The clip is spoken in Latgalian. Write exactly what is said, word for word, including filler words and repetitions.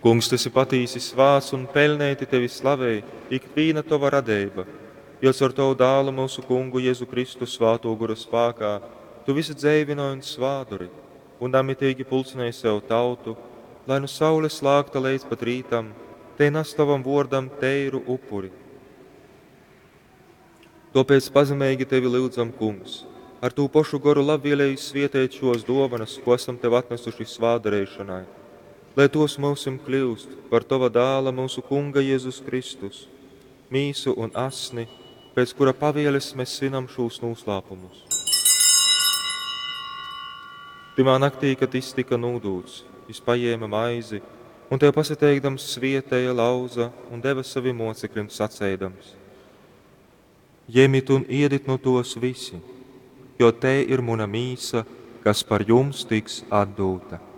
Kungs, tu esi patīsi svāts un peļneiti tevi slavej ikvīna tova radeiba, jo caur tovu Dālu, myusu Kungu Jezu Kristu, Svātō Gora spākā tu vysu dzeivynoj un svātdori, un namiteigi pulcynej sev tautu, lai nu saules lākta leidz pat rītam, tei nas tovam vōrdam teiru upuri. Tōpēc pazemeigi tevi lyudzam, Kungs, ar tū pošu Goru labvieleigi svieteit šōs dōvonas, kū asam tev atnasuši svātdareišonai, lai tōs myusim kļyust par tova Dāla, myusu Kunga Jezus Kristus, mīsu un asni, pēc kura pavieles mes svinam šūs nūslāpumus. Tymā naktī, kad jys tyka nūdūts, jys pajēme maizi un tev pasateikdams svieteja, lauza un deve sovim mōceklim saceidams: Jemit un iedit nu tōs visi, jo tei ir muna mīsa, kas par jums tiks atdūta.